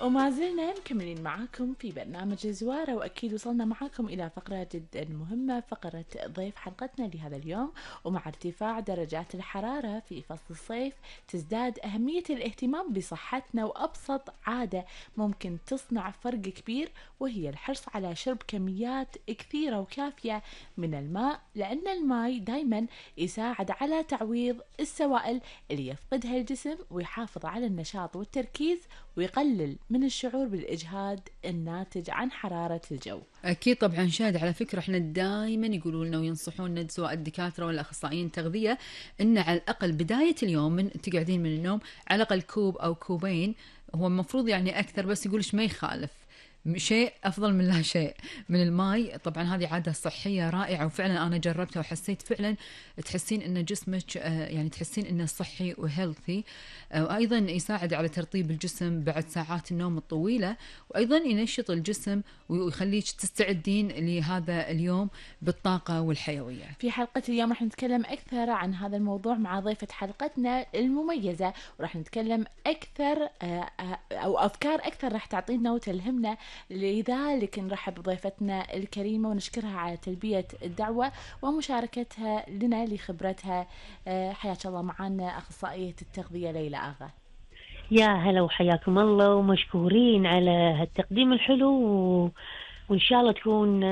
وما زلنا مكملين معاكم في برنامج زوارة، وأكيد وصلنا معاكم إلى فقرة جدا مهمة، فقرة ضيف حلقتنا لهذا اليوم. ومع ارتفاع درجات الحرارة في فصل الصيف تزداد أهمية الاهتمام بصحتنا، وأبسط عادة ممكن تصنع فرق كبير وهي الحرص على شرب كميات كثيرة وكافية من الماء، لأن الماء دايما يساعد على تعويض السوائل اللي يفقدها الجسم، ويحافظ على النشاط والتركيز، ويقلل من الشعور بالإجهاد الناتج عن حرارة الجو. أكيد طبعا شاهد، على فكرة احنا دائما يقولوا لنا وينصحونا سواء الدكاترة ولا أخصائيين التغذية إن على الأقل بداية اليوم من تقعدين من النوم على الأقل كوب أو كوبين، هو المفروض يعني أكثر بس يقولش ما يخالف، شيء أفضل من لا شيء من الماء. طبعا هذه عادة صحية رائعة وفعلا أنا جربتها وحسيت فعلا تحسين إن جسمك يعني تحسين إنه صحي وهيلثي، وأيضا يساعد على ترطيب الجسم بعد ساعات النوم الطويلة، وأيضا ينشط الجسم ويخليك تستعدين لهذا اليوم بالطاقة والحيوية. في حلقة اليوم راح نتكلم أكثر عن هذا الموضوع مع ضيفة حلقتنا المميزة، وراح نتكلم أكثر أو أفكار أكثر راح تعطينا وتلهمنا، لذلك نرحب بضيفتنا الكريمة ونشكرها على تلبية الدعوة ومشاركتها لنا لخبرتها. حياك الله معنا أخصائية التغذية ليلى آغا. يا هلا وحياكم الله، ومشكورين على هالتقديم الحلو وإن شاء الله تكون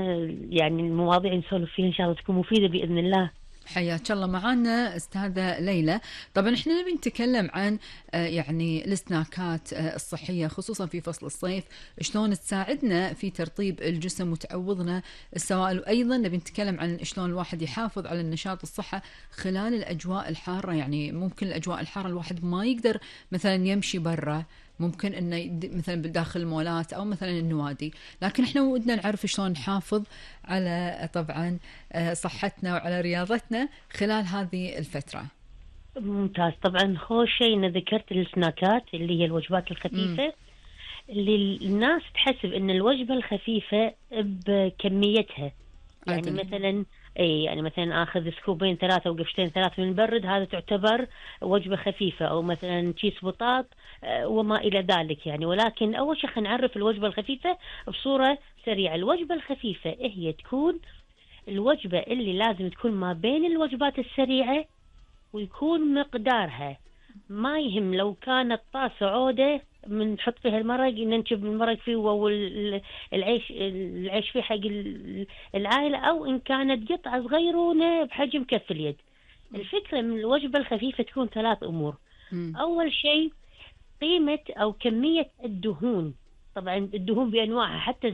يعني المواضيع نسولف فيها إن شاء الله تكون مفيدة بإذن الله. حياك الله معنا أستاذة ليلى. طبعا احنا نبي نتكلم عن يعني السناكات الصحية خصوصا في فصل الصيف، شلون تساعدنا في ترطيب الجسم وتعوضنا السوائل، وأيضا نبي نتكلم عن شلون الواحد يحافظ على النشاط والصحة خلال الأجواء الحارة. يعني ممكن الأجواء الحارة الواحد ما يقدر مثلا يمشي برا، ممكن انه مثلا بداخل المولات او مثلا النوادي، لكن احنا ودنا نعرف شلون نحافظ على طبعا صحتنا وعلى رياضتنا خلال هذه الفترة. ممتاز. طبعا خوش شيء ان ذكرت السناكات اللي هي الوجبات الخفيفة اللي الناس تحسب ان الوجبة الخفيفة بكميتها، يعني مثلا يعني مثلا اخذ سكوبين 3 وقفشتين 3 من البرد، هذا تعتبر وجبة خفيفة، او مثلا كيس بطاط وما الى ذلك يعني. ولكن اول شيء خلينا نعرف الوجبة الخفيفة بصورة سريعة. الوجبة الخفيفة هي تكون الوجبة اللي لازم تكون ما بين الوجبات السريعة، ويكون مقدارها ما يهم لو كانت طاسة عودة من نحط فيها المرق ننشب المرق فيه العيش فيه حق العائلة، أو إن كانت قطعة صغيرونة بحجم كف اليد. الفكرة من الوجبة الخفيفة تكون 3 أمور. أول شيء قيمة أو كمية الدهون. طبعا الدهون بأنواعها، حتى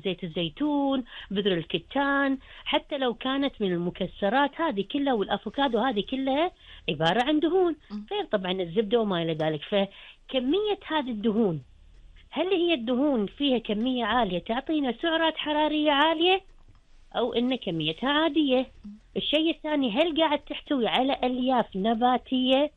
زيت الزيتون، بذر الكتان، حتى لو كانت من المكسرات هذه كلها، والأفوكادو هذه كلها عبارة عن دهون، غير طبعا الزبدة وما إلى ذلك. فكمية هذه الدهون، هل هي الدهون فيها كمية عالية تعطينا سعرات حرارية عالية، أو إن كميتها عادية؟ الشيء الثاني، هل قاعد تحتوي على ألياف نباتية